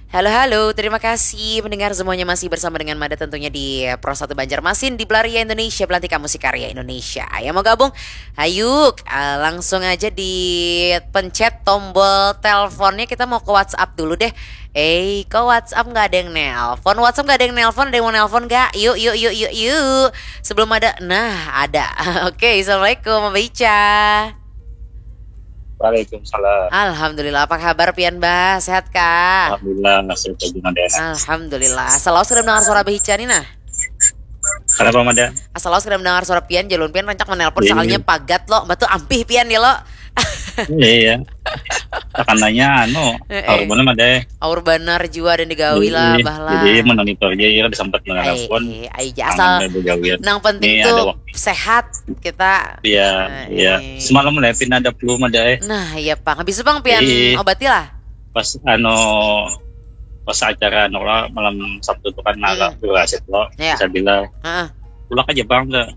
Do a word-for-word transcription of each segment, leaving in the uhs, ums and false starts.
Halo, halo. Terima kasih mendengar semuanya masih bersama dengan Mada tentunya di Pro satu Banjarmasin di Belaria Indonesia, Belantika Musik Karya Indonesia. Yang mau gabung? Ayo, eh, langsung aja dipencet tombol teleponnya. Kita mau ke WhatsApp dulu deh. Eh, kok WhatsApp nggak ada yang nelpon? WhatsApp nggak ada yang nelpon, ada yang mau nelpon nggak? Yuk, yuk, yuk, yuk, yuk. Sebelum ada, nah ada. Oke, assalamualaikum, Mbak Ica. Waalaikumsalam. Alhamdulillah, apa kabar pian bah? Sehat kah? Alhamdulillah, sehat juga deh. Alhamdulillah. Asal lawas kada mendengar suara Abah Ica nih nah. Kenapa Mada? Asal lawas kada mendengar suara pian, jalun pian rancak menelpon Iya. Soalnya pagat lo, batu ampih pian ya lo. Iya. Tekanannya anu, Eh, eh. Aur mana Mada? Aur banar jua dan digawi lah, Iya, bah lah. Jadi monitor aja ya, ada sempat Ai, menelpon. ai, ai, ja, asal Tangan begawian. Nang penting Iya, tuh ada waktu. Sehat kita. Iya, Nah, iya. iya. Semalam Lepin ada flu Mada. Nah, iya pang. Habis itu pang pian Iya. Obati lah. Pas anu pas acara anu lah malam Sabtu tuh kan nala Mm-mm. Dua Aset lo. Iya. Saya bilang Heeh. Ulak aja bang tuh.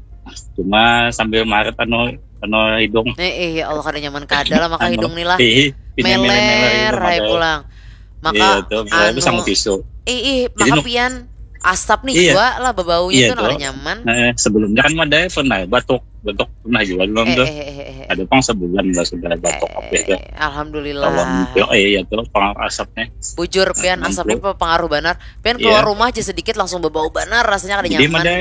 Cuma sambil maret anu anu hidung. Eh, eh, ya Allah, kada nyaman kada lah maka Anu, hidung nih lah. Ih, pindah Meler, meler-meler hai Mada. pulang. Maka Iya tuh, anu, sama tisu. Ih, ih, Jadi maka nu- pian asap nih Iya. Jua lah, babaunya Iya tuh nah tuh. kada nyaman. Nah, sebelumnya kan Mada pernah batuk, batuk pernah juga belum Eh, tuh. eh, eh, eh, eh. Ada pang sebulan lah sudah batuk apa itu. Eh, Alhamdulillah. Lawan yo, eh, iya tuh pang asapnya. Bujur pian Nah, asapnya itu. Pengaruh banar. Pian Iya. Keluar rumah aja sedikit langsung bebau banar, rasanya kada Jadi nyaman. Mada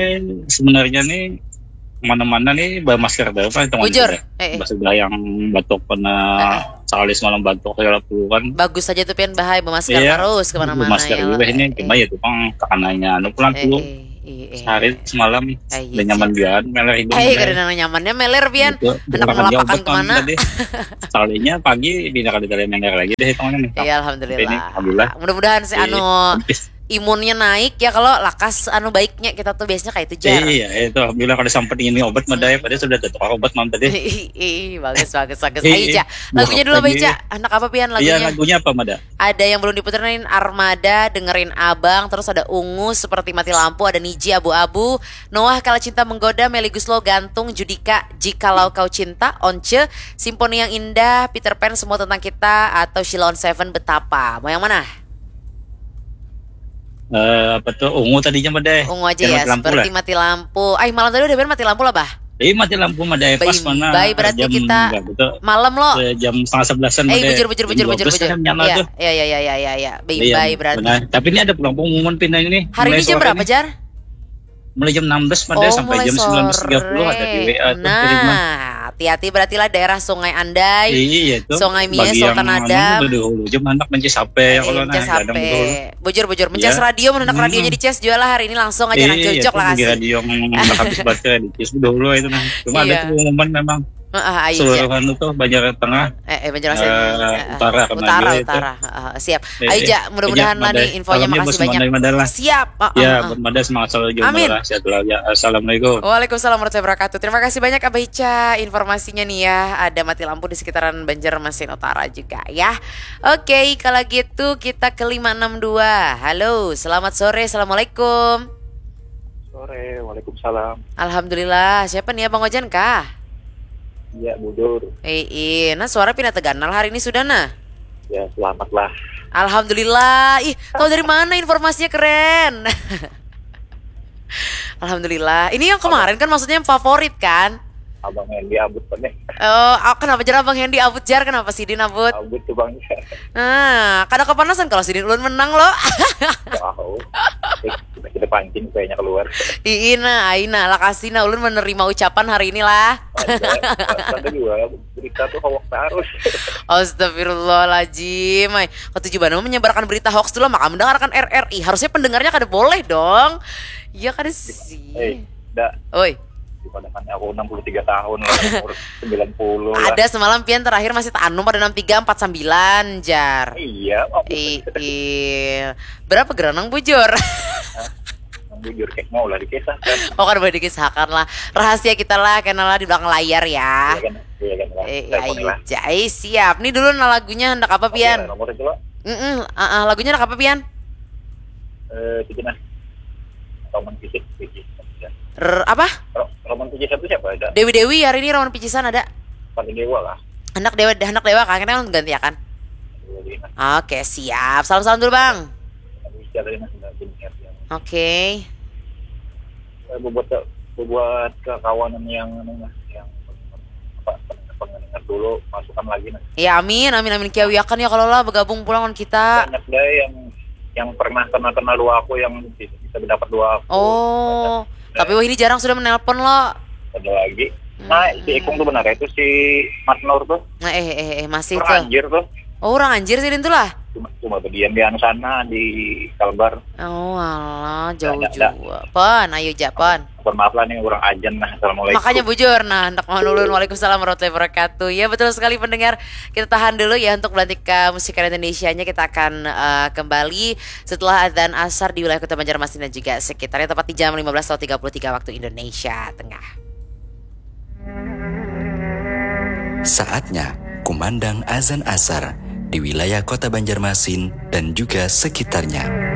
sebenarnya nih kemana-mana nih bawa masker dulu kan itu Bujur. Sudah. Eh, eh. Sudah yang batuk kena Eh, eh. Sehari semalam batuk segala puluhan. Bagus saja tuh pian bahai bemasker Iya, terus kemana-mana masker ya. juga ini Eh, cuma eh. Ya itu pang tekanannya anu pulang Eh, dulu eh, eh, eh. Sehari semalam Eh, iya, udah nyaman Cik. biar meler hidung Eh, meler. Kada nang nyamannya meler pian. Gitu. Hendak Orang kerja melapakan obat kemana? Tadi. Sekalinya pagi pindah kali kali meler lagi deh hitungannya nih. Iya, alhamdulillah. Ini, alhamdulillah. Mudah-mudahan si Iya. Anu imunnya naik ya, kalau lakas anu baiknya kita tuh biasanya kayak itu jar. Iya, itu alhamdulillah kalau sempat ini obat Mada ya, padahal sudah ada tukang obat malam tadi. Ih, ih, bagus, bagus, bagus. Iya, Ayo, Ica. iya. Lagunya dulu apa, Lagi- Ica? Anak apa pian Iya, lagunya? Lagunya apa Mada? Ada yang belum diputerin, Armada, Dengerin Abang, terus ada Ungu, Seperti Mati Lampu, ada Niji, Abu-Abu, Noah, Kala Cinta Menggoda, Meli Guslo, Gantung, Judika, Jikalau Kau Cinta, Once, Simponi yang Indah, Peter Pan, Semua Tentang Kita, atau Sheila on Seven, Betapa. Mau yang mana? Eh, apa tuh? Ungu tadinya Mada. Ungu aja Yang ya, Mati Lampu Seperti lah. Mati Lampu. Ay, malam tadi udah pian Mati Lampu lah, bah. Ih, Mati Lampu Mada pas Baim-, mana? baik, berarti Jam kita berapa tuh? Malam lo. Eh, jam setengah sebelasan Eh, Mada. bujur, bujur, Jam bujur, bujur, dua belas bujur. kan nyala Iya, tuh. iya, iya, iya, iya, iya. Baim, Iya, baik, berarti. Benar. Tapi ini ada pulang pengumuman pindahnya nih. Hari Mulai ini jam sore berapa, nih. Jar? Mulai jam enam belas Mada Oh, sampai mulai jam sore. sembilan belas tiga puluh ada di W A tuh, kiriman. Nah, hati-hati berarti lah daerah Sungai Andai. Iya, itu. Sungai Mie, Bagi Sultan yang Adam. Anu, udah dulu jam anak mencicipi ya Eh, kalau nah, mencicipi. Jangan dulu. Bujur, bujur. Mencas Ya. radio, mendak Hmm. radionya dicas jua lah hari ini langsung aja Iya, nang jojok itu lah kasih. radio yang udah habis baterai di Cis udah dulu itu nah. Cuma ada Iya. pengumuman memang Heeh, ayo, seluruh Cak. anu tuh Banjar Tengah. Eh, eh, Banjarmasin. Eh, Heeh. utara kena Utara, juga itu. Utara. Heeh, siap. Eh, Ayo, eh, Jak, mudah-mudahan iya, lah nih Mada. infonya, Salamnya makasih buat banyak. Mada, Mada lah. Siap. Heeh, Ya, heeh. buat Mada semangat selalu juga Amin. Mada. Sehat selalu ya. Assalamualaikum. Waalaikumsalam warahmatullahi wabarakatuh. Terima kasih banyak Abah Ica informasinya nih ya. Ada mati lampu di sekitaran Banjarmasin Utara juga ya. Oke, kalau gitu kita ke lima enam dua. Halo, selamat sore. Assalamualaikum. Sore, waalaikumsalam. Alhamdulillah. Siapa nih, Abang Ojan kah? Iya, bujur. Eh, iya. Nah, suara pina teganal hari ini sudah nah. Ya, selamat lah. Alhamdulillah. Ih, tahu dari mana informasinya, keren? Alhamdulillah. Ini yang kemarin kan maksudnya yang favorit kan? Abang Hendy abut kan nih. Oh, ah, kenapa jar Abang Hendy abut jar? Kenapa sidin abut? Abut tuh Bang. Nah, kada kepanasan kalau sidin ulun menang lo. Wow. Eh, kita, kita pancing kayaknya keluar. Iina, aina, lakasina ulun menerima ucapan hari ini lah. Ada, ada juga berita tuh hoax terus. Astagfirullahaladzim. Ay, ketujuh banget menyebarkan berita hoax dulu, maka mendengarkan R R I. Harusnya pendengarnya kada boleh dong. Iya kada sih. Eh, dak. Oi, Gimana kan aku enam puluh tiga tahun lah, umur sembilan puluh lah. Ada semalam pian terakhir masih taanum pada enam tiga empat sembilan jar. Iya, aku I, i, berapa geranang bujur? Bujur kayak mau lah dikisahkan. Oh, kan boleh dikisahkan lah. Rahasia kita lah, kena lah di belakang layar ya. Iya kan? Iya kan? Lah. Eh, Telepon iya, lah. Iya, siap. Nih dulu nah lagunya hendak apa pian? Oke, nomor itu lah. Mm-mm, ah, ah, lagunya hendak apa pian? Eh, itu nah. Roman fisik, fisik. R-, apa? Ro- Roman fisik itu siapa ada? Dewi Dewi hari ini Roman Picisan ada. Paling dewa lah. Hendak dewa, hendak dewa kan? Kita kan ganti ya kan? Dewa Lima. Oke, siap. Salam salam dulu, Bang. Siapa yang sudah punya yang Oke. eh, buat ke buat kekawanan yang anu lah, yang apa pendengar dulu masukan lagi nah. Ya amin, amin, amin. Kiawiakan ya kalau lah bergabung pulang lawan kita. Banyak deh yang yang pernah kenal kenal dua aku yang bisa, bisa dapat dua aku. Oh, tapi wah ini jarang sudah menelpon lo. Ada lagi. Nah, si Ikung tuh benar itu si Mat Nur tuh. Nah, eh eh eh masih Orang tuh. Anjir tuh. Oh, orang Anjir sih itu lah. Cuma cuma berdiam di anu sana di Kalbar. Oh, alah, jauh Ada, ada. juga. Pon, ayo ja, Pon. Mohon maaf lah nih orang ajan nah. Assalamualaikum. Makanya bujur nah, hendak mau nulun. Waalaikumsalam warahmatullahi wabarakatuh. Ya betul sekali pendengar. Kita tahan dulu ya untuk belantika musik Indonesia-nya. Kita akan eh, kembali setelah azan asar di wilayah Kota Banjarmasin dan juga sekitarnya, tepat di jam lima belas tiga puluh tiga waktu Indonesia Tengah. Saatnya kumandang azan asar di wilayah Kota Banjarmasin dan juga sekitarnya.